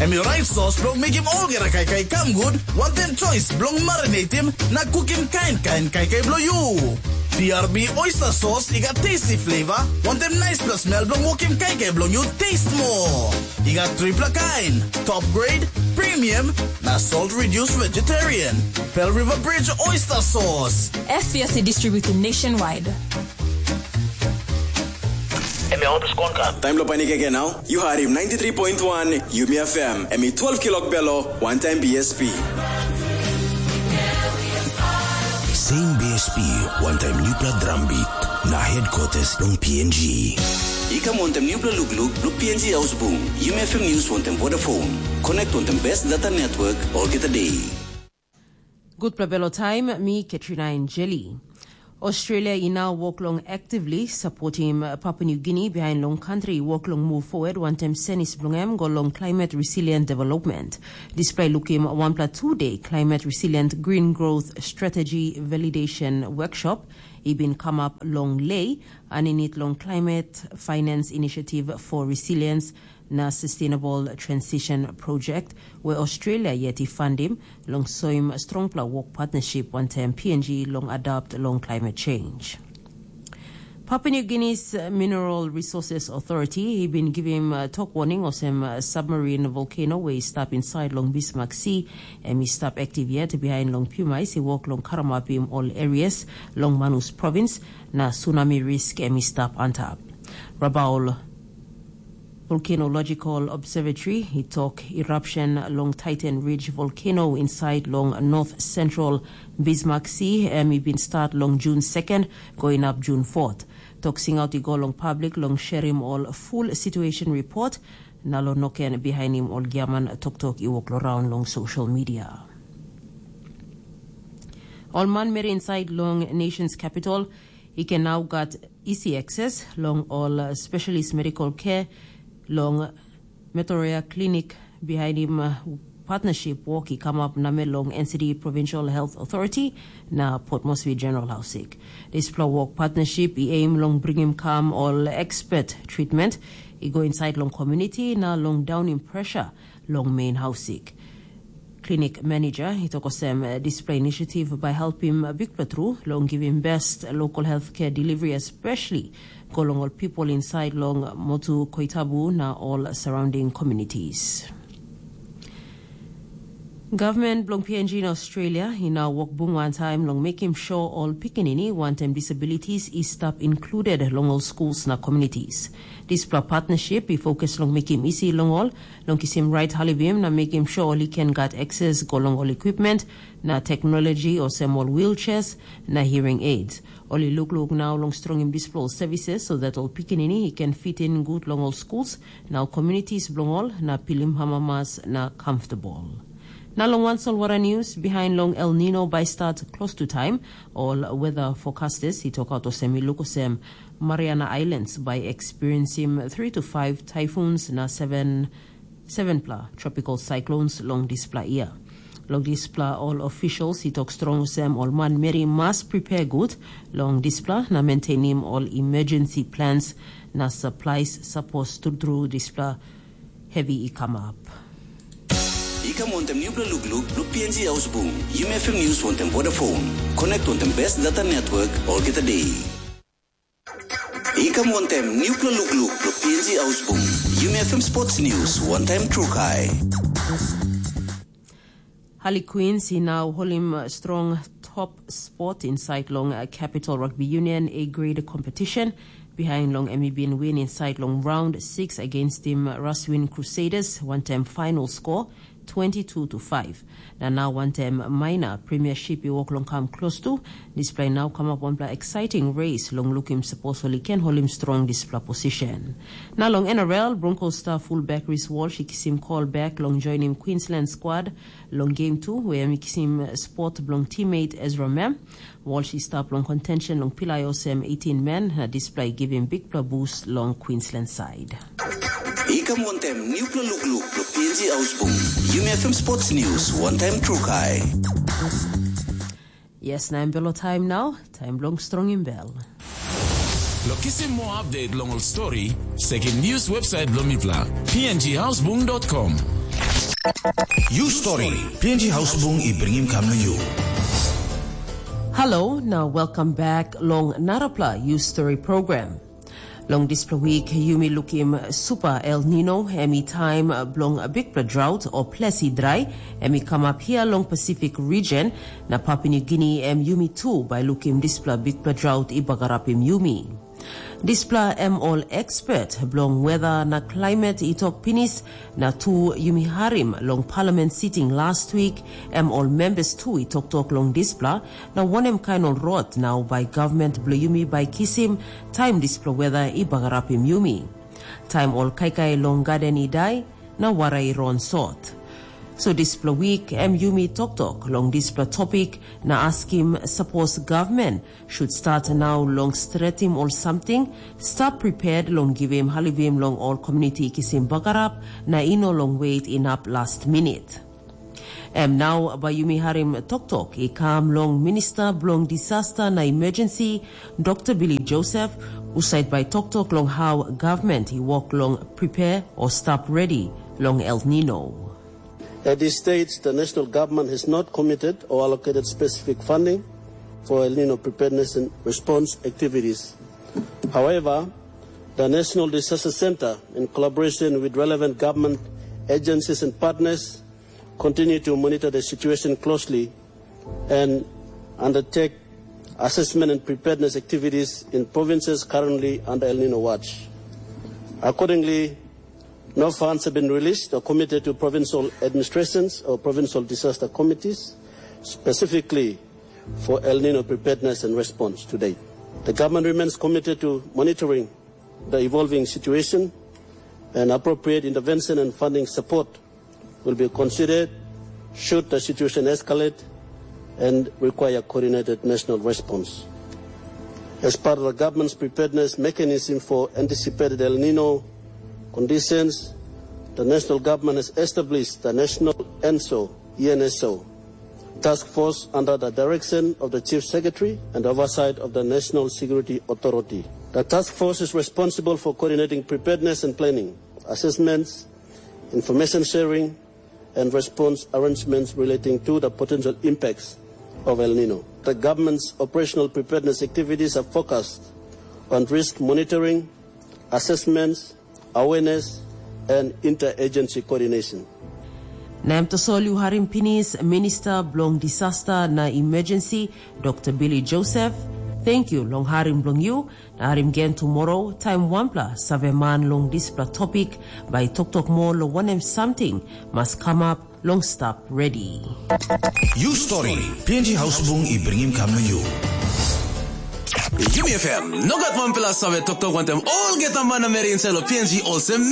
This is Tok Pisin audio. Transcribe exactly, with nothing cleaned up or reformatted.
Em i rait sos bilong mekim olgeta kaikai i kam gut, wantaim choice bilong marinatim na kukim kain kain kaikai bilong yu. P R B oyster sauce i gat tasty flavor, wantaim nice plus smell bilong wokim kaikai bilong yu taste more. I gat tripla kain, top grade, premium, na salt reduced vegetarian. Pearl River Bridge oyster sauce. F P S distributed nationwide. Em ya otus konka. Taim lo panik again now. You heard him ninety-three point one Yumi F M. Em i twelve kilok belo, one time B S P. Same B S P, one time newpla drum beat. Na headquarters long P N G. I kam wantaim newpla lukluk bilong P N G Ausbung, Yumi F M News wantaim Vodafone. Connect wantaim best data network olgeta day. Gutpela belo taim, mi Katrina Enjeli. Australia i nau wok long actively supportim Papua New Guinea behind long country wok long move forward wantaim senis bilong em go long climate resilient development. Dispela i lukim wanpela two-day climate resilient green growth strategy validation workshop i bin come up long Lei, aninit long Climate Finance Initiative for Resilience na Sustainable Transition Project, where Australia yet i fundim long soim strongpela work partnership wantaim P N G long adapt long climate change. Papua New Guinea's Mineral Resources Authority i bin givim uh, tok warning olsem uh, submarine volcano we i stap inside long Bismarck Sea, em i stap active yet behind long Pumais i work long karamapim all areas long Manus province, na tsunami risk em i stap antap. Rabaul Volcanological Observatory i tok eruption long Titan Ridge Volcano inside long North Central Bismarck Sea em i bin start long June second, going up June fourth. Tok singaut i go long public long sharim all full situation report, na lo noken bihainim ol giaman toktok i wok lo raun long social media. Ol manmeri inside long nation's capital i ken nau gat isi ekses long ol specialist medical care long Metoria Clinic bihainim uh, partnership wok i kamap namel long N C D Provincial Health Authority na Port Moresby General Housing. Dispela wok partnership i aim long bringim kam ol expert treatment i go inside long community na long downim pressure long main housing. Clinic manager i tok olsem dispela initiative bai helpim bikpela tru long givim best local healthcare delivery, especially go long ol people inside long Motu Koitabu na all surrounding communities. Government bilong P N G in Australia i nau wok bung wantaim long mekim sure ol pikinini wantaim disabilities i stap included long ol schools na communities. Dispela partnership i fokus long mekim isi long ol long kisim rait halivim na mekim sure ol i ken gat access go long ol equipment na technology olsem ol wheelchairs na hearing aids. Ol i lukluk nau long strongim dispela ol services so that ol pikinini i ken fit in gut long ol schools na ol communities bilong ol na pilim hamamas na comfortable. Na long wan solwara news, behind long El Nino bai start close to time, ol weather forecasters i tok out olsem i luk olsem Mariana Islands bai experiencing three to five typhoons na seven sevenpela tropical cyclones long dispela year. Long dispela ol officials i tok strong olsem ol manmeri mas prepare gut long dispela na maintainim ol emergency plans na supplies sapos trutru dispela heavy i kamap. I kam wantaim nupela lukluk bilong P N G Ausbung, Yumi F M News wantaim Vodafone. Connect wantaim best data network olgeta day. I kam wantaim nupela lukluk bilong P N G Ausbung, Yumi F M Sports News wantaim Trukai. Harlequins i nau holim strong top spot inside long Capital Rugby Union A grade competition. Behind long em i bin win inside long round six against team Raswin Crusaders, wantaim final score twenty-two to five. Na nau wantaim minor premiership i wok long kam klostu, dispela i nau kamap wanpela exciting race long lukim sapos ol i ken holim strong dispela position. Na long N R L, Broncos star fullback Reece Walsh i kisim call back long joinim Queensland squad long game two, where em i kisim spot bilong teammate Ezra Mam. Walsh i stap long contention long pilai olsem eighteen men, na dispela i givim bikpela boost long Queensland side. I kam wantaim nupela lukluk bilong P N G Ausbung, Yumi F M Sports News wantaim Trukai. Yes, na em belo taim nau, taim bilong strongim bel. Lo kisim moa update long ol stori, sekim news website bilong mipela, P N G ausbung dot com. Yu stori, P N G Hausbung i bringim kam na yu. Hello, now welcome back long narapla You Story program. Long dispela wik yumi lukim Super El Nino, em i taim bilong bikpela drought o ples i drai, em i kamap hia long Pacific region, na Papua New Guinea em yumi tu bai lukim dispela bikpela drought i bagarapim yumi. Dispela em ol expert bilong weather na climate i tok pinis, na tu yumi harim long parliament sitting last week, em ol members tu i toktok long dispela, na wanem kain ol rot nau bai government bilong yumi bai kisim taim dispela weather i bagarapim yumi. Taim ol kaikai long garden i dai, na wara i ron sot. So dispela wik em yumi toktok long dispela topik na askim sapos government should start nau long stretim ol samting, stap prepared long givim halivim long ol community kisim bagarap na i no long wait inap last minute. Em nau bai yumi harim toktok i kam long Minista bilong Disaster na Emergency, Dr. Billy Joseph, husat bai toktok long how government i wok long prepare o stap ready long El Nino. At this stage, the national government has not committed or allocated specific funding for El Nino preparedness and response activities. However, the National Disaster Center, in collaboration with relevant government agencies and partners, continue to monitor the situation closely and undertake assessment and preparedness activities in provinces currently under El Nino watch. Accordingly, no funds have been released or committed to provincial administrations or provincial disaster committees specifically for El Nino preparedness and response to date. The government remains committed to monitoring the evolving situation, and appropriate intervention and funding support will be considered should the situation escalate and require coordinated national response. As part of the government's preparedness mechanism for anticipated El Nino conditions, the national government has established the National ENSO, ENSO, task force under the direction of the Chief Secretary and oversight of the National Security Authority. The task force is responsible for coordinating preparedness and planning, assessments, information sharing, and response arrangements relating to the potential impacts of El Nino. The government's operational preparedness activities are focused on risk monitoring, assessments, awareness, and interagency coordination. Na em tasol yu harim pinis Minista bilong Disaster na Emergency, Dr. Billy Joseph. Thank you long harim bilong yu, na harim gen tomorrow, taim wanpela saveman long dispela topik bai toktok moa long wanem samting mas kamap long stap ready. Yu stori, P N G Hausbung i bringim kam na yu. Yumi F M, no gat wanpela save toktok wantem olgeta manameri inside lo P N G olsem